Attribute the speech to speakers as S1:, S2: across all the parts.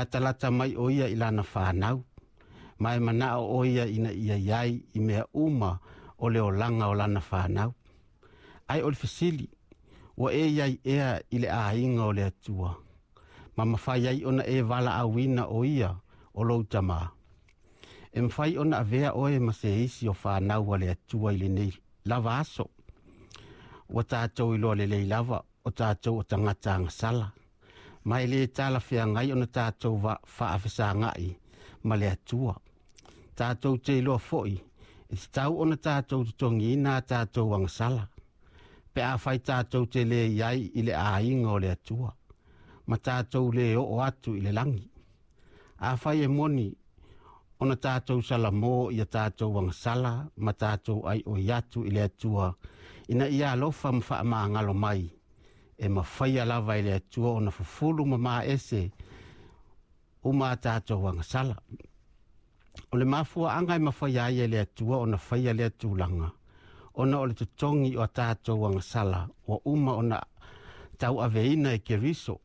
S1: Latalata mai o ia i lana whānau, ma e manao o ia ina ia iai i mea uma o le olaga o lana whānau. Ai o le fesili, ua e iai ea i le aiga o le Atua, ma mafai ai ona e valaauina o ia o lou tamā. E mafai ona avea oe ma se isi o whānau a le Atua i lenei lava aso. Ua tātou iloa lelei lava o tātou o tagata agasala. Ma e le talafeagai ona tātou faafesagai ma le Atua. Tātou te iloa foi, e tatau ona tātou totogiina a tātou agasala. Pe afai tātou te le iai i le aiga o le Atua, ma tātou le oo atu i le lagi. Afai e moni ona tātou salamo ia tātou agasala ma tātou aioi atu i le Atua, ina ia alofa ma faamagalo mai, e mafaia lava i le Atua ona fufulu ma maese uma a tātou agasala. O le mafuaanga e mafaia ai e le Atua ona faia lea tulaga, ona o le totogi o a tātou agasala ua uma ona tauaveina e Keriso,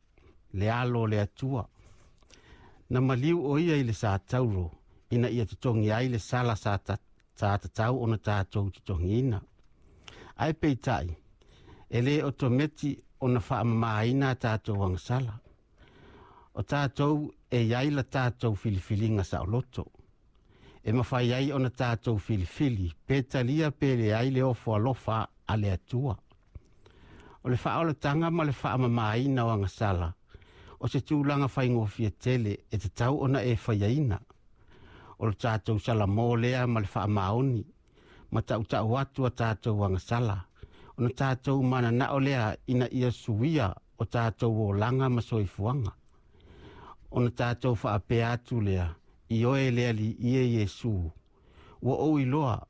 S1: le alo o le Atua. Na maliu o ia i le satauro, ina ia totogi ai le sala sa tatau ona tātou totogiina. Ae peitai, e le otometi ona faamamaina a tātou agasala. O tātou e iai la tātou filifiliga saoloto. E mafai ai ona tātou filifili, pe talia pe leai le ofo alofa a le Atua. O le faaolataga ma le faamamaina o agasala, o se tulaga faigofie tele e tatau ona e faiaina. O le tātou salamo lea ma le faamaoni, ma tautau atu a tātou agasala, ona tātou mananao lea ina ia suia o tātou olaga ma soifuaga. Ona tātou faapea atu lea, i oe le Alii e Iesu, ua ou iloa,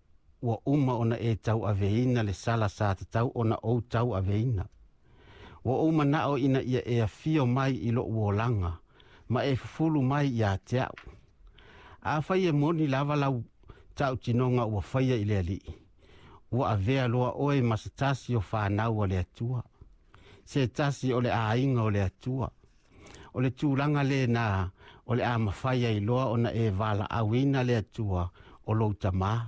S1: ua uma ona e tauaveina le sala sa tatau ona ou tauaveina. Ua ou manao ina ia e afio mai i lou olaga, ma e fufulu mai ia te au. Afai e moni lava lau tautinoga ua faia i le Alii, ua avea loa oe ma se tasi o whānau a le Atua, se tasi o le aiga o le Atua. O le tulaga lena o le a mafai ai loa ona e valaauina le Atua o lou tamā.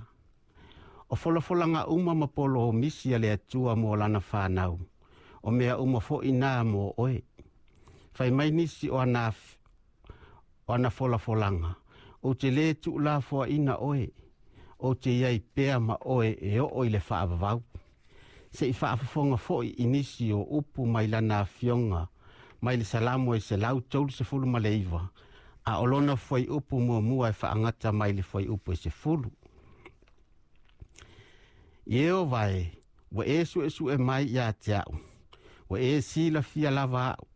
S1: O folafolaga uma ma polomisi a le Atua mo lana whānau, o mea uma foi nā mo oe. Fai mai nisi o ana folafolaga, o te le tuulafoaina oe, o te iai pea ma oe e oo i le faavavau. Se i faafofoga foi i nisi o upu mai lana afioga, mai le Salamo e 139, a o lona fuaiupu muamua e faagata mai le fuaiupu e 10. Ieova e, ua e suesue mai ia te au, ua e silafia lava au.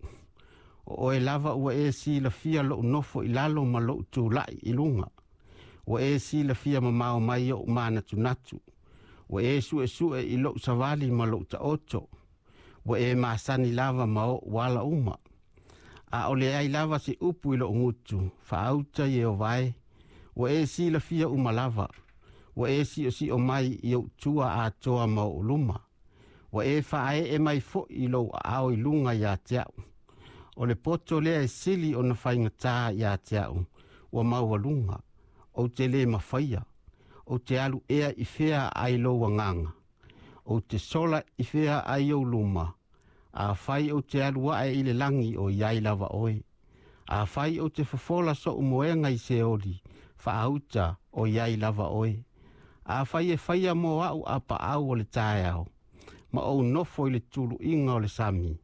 S1: O oe lava ua e silafia lou nofo i lalo ma lou tulai i luga. Ua e silafia mamao mai ou manatunatu. Ua e suesue i lou savali ma lou taoto. Ua e masani lava ma ou ala uma. A o le ai lava se upu i lou gutu, faauta Ieova e. Ua e silafia uma lava. Ua e siosio mai i ou tua atoa ma ou luma. Ua e faaee mai foi i lou aao i luga ia te au. O le poto lea e sili ona faigatā ia te au, ua maualuga, ou te le mafaia, ou te alu ea i fea ai lou agaga, ou te sola i fea ai ou luma, afai ou te alu ae i le lagi o iai lava oe, afai ou te fofola sou moega i Seoli, faauta o iai lava oe, afai e faia mo au a paau o le taeao, ma ou nofo i le tuluiga o le sami,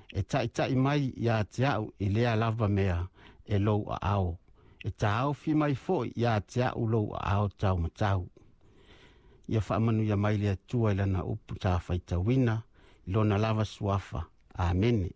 S1: e taitai mai ia te au i lea lava mea e lou aao, e taofi mai foi ia te au lou aao taumatau. Ia faamanuia mai le Atua i lana upu sa faitauina, i lona lava suafa. Amene.